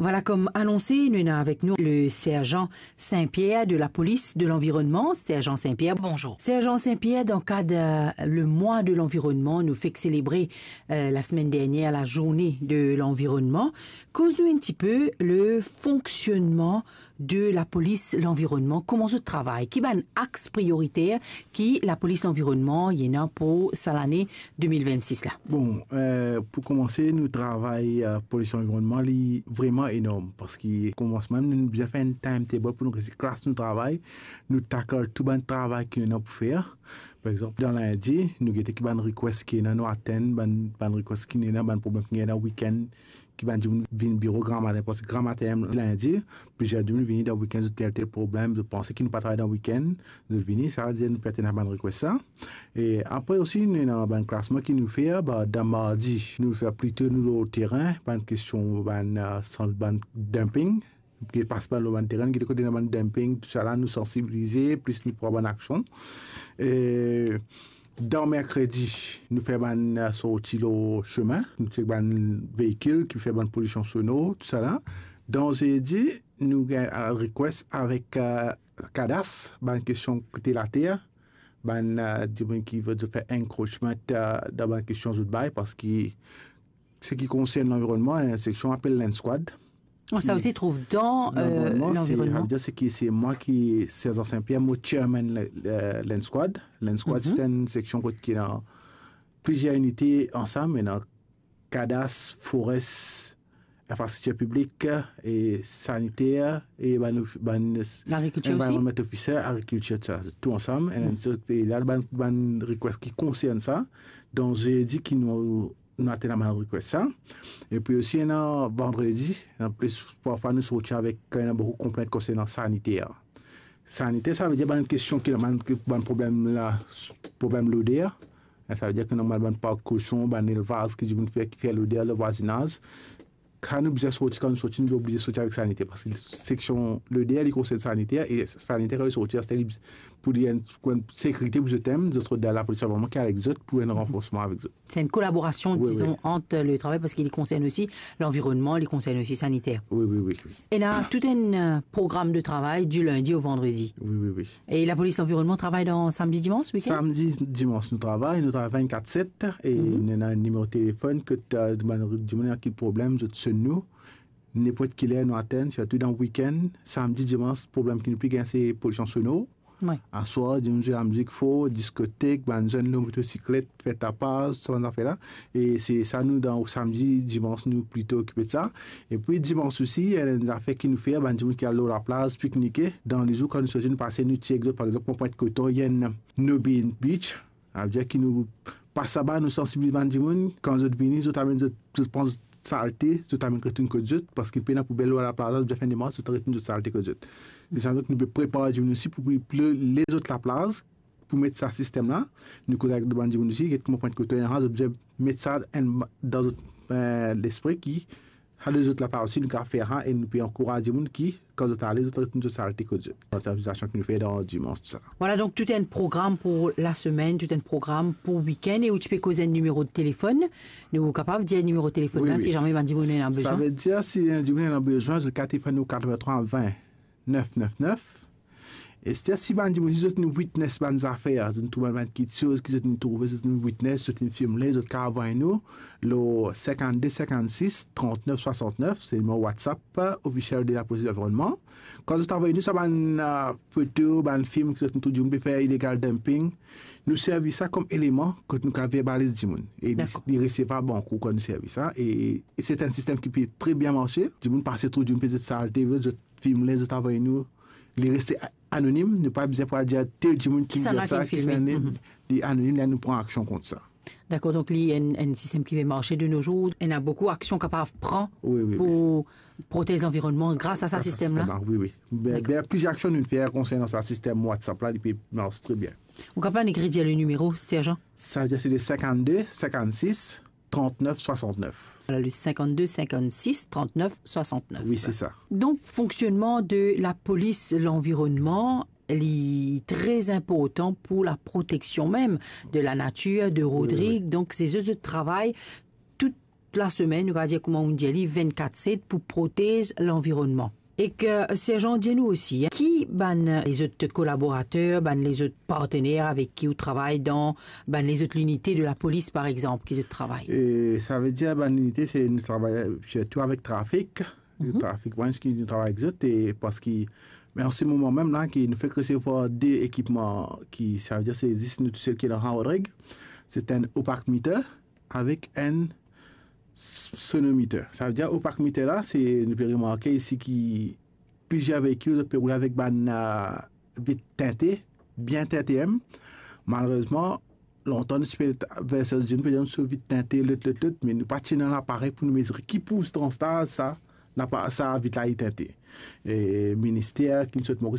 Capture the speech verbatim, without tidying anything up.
Vwala, kom anonse, nou ena avek nou le serzan Saint-Pierre de la Police de l'Environnement. Serzan Saint-Pierre, bonzour. Serzan Saint-Pierre, dan kad, euh, le mwa de l'environnement, nou fek selebre, euh, lasemenn dernier la journée de l'environnement. Koz nou enn tipe le fonksionnman de la Police l'Environnement, kouma zot travay, ki bann axe prioriter ki la Police l'Environnement ena pou sa lane de mil vennsis la? Bon, euh, pou koumanse, nou travay, euh, Police Environnement, li vreman enorm, parski koumansman, nou bizin fer enn timetable pou nou resi klas nou travay, nou tackle tou bann travay ki nou ena pou fer. Par exanp, dan lindi, nou gete ki bann request ki ena, nou atenn bann, bann request ki ena, bann problem ki ena weekend, ki bann dimoun vinn biro gramatin, parski gramatin, lindi, plizier dimoun vini dan weekend, zot tel, tel problem, zot panse ki nou pa travay dan weekend, zot vini, sa vedir nou pe atenn bann request sa. E apre osi, nou ena bann klasman ki nou fer, ba, dan mardi, nou fer plito nou lor terin, bann kestion, bann, euh, sans, bann dumping, ki pas pa lor bann terin, ki kote ena bann dumping, tousala, nou sansibilize, plis nou pran bann aksion. E dan merkredi, nou fer bann, euh, sorti lor sime, nou chek bann veikil ki fer bann polision sonor, tousala. Dan zedi, nou gagn, euh, request avek, euh, Cadastre, bann kestion kote later, bann, euh, dimoun ki ve fer encroachment, euh, dan bann kestion zot bay, parski seki konsern lanvironnman, ena enn seksion apel Land Squad. Oh, sa osi trouv dan, euh, lanvironnman. Sa vedir seki se mwa ki, Serzan Saint-Pierre, mo chairman la, la, Land Squad. Land Squad, se enn seksion kot ki ena plizier inite ansam, ena Cadastre, Forest, Infrastriktir Piblik e Saniter e bann of-, bann s-, Lagrikitir osi? Environment Officer, Agrikiltir, sa, tou ansam. E la, bann, bann request ki konsern sa. Dan zedi ki nou, nou atenn bann request sa. Epi osi, ena vandredi, ena plis, parfwa nou sorti avek, ena boukou konplent konsern saniter. Saniter, sa vedir bann kestion ki, bann, bann problem la, problem loder. Sa vedir ki normal bann park koson, bann elvaz ki dimoun fer, ki fer loder dan vwazinaz. Kan nou bizin sorti, kan nou sorti, nou oblize sorti avek saniter, parski seksion loder, li konsern saniter, e saniter, kan li sorti, aster li, pou li enn, pou enn sekirite pou zot mem, zot rod dan lapolis, vreman ki avek zot, pou enn ranforsman avek zot. Se enn kolaborasion, wi, wi, dizon, ant le travay, parski li konsern osi lanvironnman, li konsern osi saniter. Wi, wi, wi, wi. Ena tout enn, euh, program de travay di lindi o vandredi. Wi, wi, wi. E lapolis lanvironnman travay dan samdi, dimans, weekend? Samdi, dimans, nou travay, nou travay vennkat set, e nou ena nimero telefonn, kot, euh, bann dimoun ena ki problem, zot sonn nou. Ninport ki ler nou atenn, sirtou dan weekend, samdi, dimans, problem ki nou pli gagn, se polision sonor. Wi. Aswar, dimoun zwe lamizik for, diskotek, bann zenn lor motosiklet, fer tapaz, sa bann zafer la. E se sa nou dan samdi, dimans, nou plito okipe de sa. Epi dimans osi, ena enn zafer ki nou fer, bann dimoun ki al lor laplaz, piknike. Dan lezour, kan nou sorti, nou pase, nou tir ek zot, par exanp, Pwint Koton, ena Nobin Beach. Savedir ki nou pas laba, nou sansibiliz bann dimoun, kan zot vini, zot amenn zot, zot pran zot salte, zot amenn retourn kot zot, parski pena poubel lor laplaz, zot fer demars, zot retourn zot salte kot zot. E sa, nou pe prepar dimoun osi pou, pou le, lezot laplaz, pou met sa sistem la. Nou koz avek bann dimoun osi, get kouma Pwint Koton ena, zot bizin met sa enn, dan zot, eh, lespri ki sa lezot laplaz osi, nou kapav fer sa, e nou pe ankouraz dimoun ki, kan zot ale, zot retourn zot salte kot zot. Sansibilizasion ki nou fer dan dimans, tousala. Vwala, donk, tou enn program pou lasemenn, tou enn program pou weekend, e ou ti pe koz enn nimero telefonn. Nou kapav dir nimero telefonn la, wi, si zame bann dimoun ena bezwin. Savedir, si enn dimoun ena bezwin, zot kapav telefonn nou, katrevintrwa vin, nef nef nef. E si, si bann dimoun, si zot inn witness bann zafer, zot inn trouv bann, bann kiksoz ki zot inn trouve, zot inn witness, zot inn filme, zot kapav avoy nou lor sinkannde sinkannsis trannef swasantnef, se nimero WhatsApp, euh, ofisiel de lapolis lanvironnman. Kan zot avoy nou sa bann, euh, foto, bann film ki zot inn trouv dimoun pe fer illegal dumping, nou servi sa kom eleman kot nou kapav verbaliz dimoun. E li, dakor, li resevwar bankou kan nou servi sa. E, e se enn sistem ki pe tre bien marse. Dimoun pase, trouv dimoun pe zet salte, zot filme, zot avoy nou, li reste a-, anonim, nou pa bizin pou al dir tel dimoun ki, kisannla ki filme, kisannla, mhm, li anonim, la nou pran aksion kont sa. Dakor, donk li enn, enn sistem ki pe marse de nos jours, ena boukou aksion kapav pran, wi, wi, wi, pou protez lanvironnman gras a sa sistem la. Gras a sistem la, wi, wi. Be-, dakor, be, plizier aksion nou fer konsernan sa sistem WhatsApp la, li pe mars tre bien. Ou kapav nek redir le nimero, Serzan? Savedir se le sinkannde sinkannsis trannef swasantnef. Vwala, le sinkannde sinkannsis trannef swasantnef. Wi, se sa. Donk, fonksionnman de lapolis lanvironnman, li tre inportan pou laproteksion mem de lanatir, de Rodrig. Wi, wi. Donk, se zot, zot travay, tout lasemenn, nou kapav dir kouma nou dir li, vennkat set pou protez lanvironnman. Ek, eh, Serjan, dir nou osi, eh, ki bann lezot kolaborater, bann lezot partener avek ki ou travay dan bann lezot linite de lapolis, par exanp, ki zot travay? E savedir bann linite, se nou travay sirtou avek trafik, trafik branch ki nou travay avek zot, e parski, me an se moman mem la, ki nou fek resevwar de ekipman ki, savedir se zis nou tousel ki ena Rodrig, se enn opaque meter avek enn sonometer. Savedir opaque meter la, se, nou pe remarke isi ki plizier veikil, zot pe roule avek bann, eh, vit tinte, bien tinte mem. Malerezman, lontan nou ti pe verse zot, nou pe dir nou so vit tinte, lot, lot, lot, me nou pa ti ena laparey pou nou mezire ki poursantiz sa, lapa-, sa vit la li tinte. E minister ki sot Moris